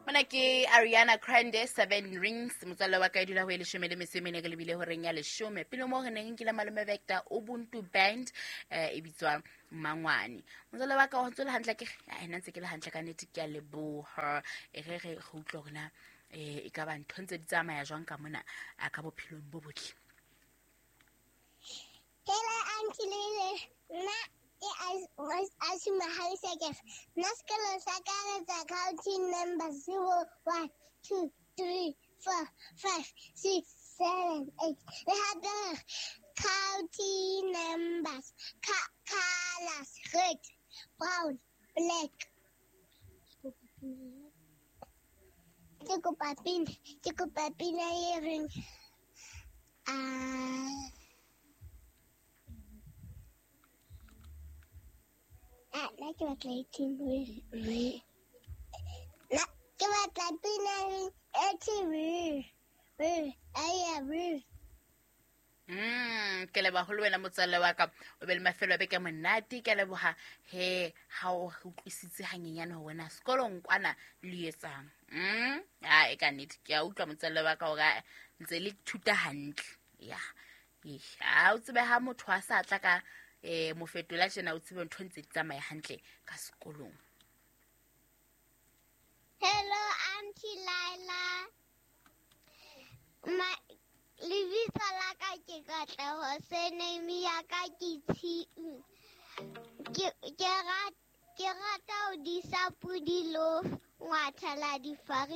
Mona ke Ariana Grande, Seven Rings. Motswalle wa ka, e dula ho e 14 re lebile horeng ya 10. Pele mo re neng nkile malome Vector Ubuntu Band, e bitswa Mangwane. Motswalle wa ka, o ntse le hantle? Ke ena ntse ke le hantle ka nnete, ke a leboha. E re re utlwe hore na e ka ba ntho ntse di tsamaya jwang ka mona a ka bophelong bo botle. Hello, Auntie Lele. Nna ke Asima Halisekef. Nna sekolo sa ka re tsa counting number 0, 1, 2, 3, 4, 5, 6, 7, 8. Le hape re counting numbers, colors, red, brown, black. Ke kopa pina, ke kopa pina e reng ah ah, nna ke batla 18 re nna ke batla pina e reng 18 re re aya re. Ke leboha ho le wena, motswalle wa ka. O be le mafelo a beke monate. Ke a leboha he ha o re utlwisitse hanyenyane hore na sekolong kwana le etsang. A e ka nnete ke a utlwa, motswalle wa ka, hore ntse le thuta hantle ya. Ha o tsebe ha motho a sa tla ka mofetola tjena, o tsebe ntho ntse di tsamaya hantle ka sekolong. Hello, Auntie Laila. Ma lebitso la ka ke Katleho, surname ya ka ke Tshiu. Ke rata ho disa podi lo ngwathela difariki.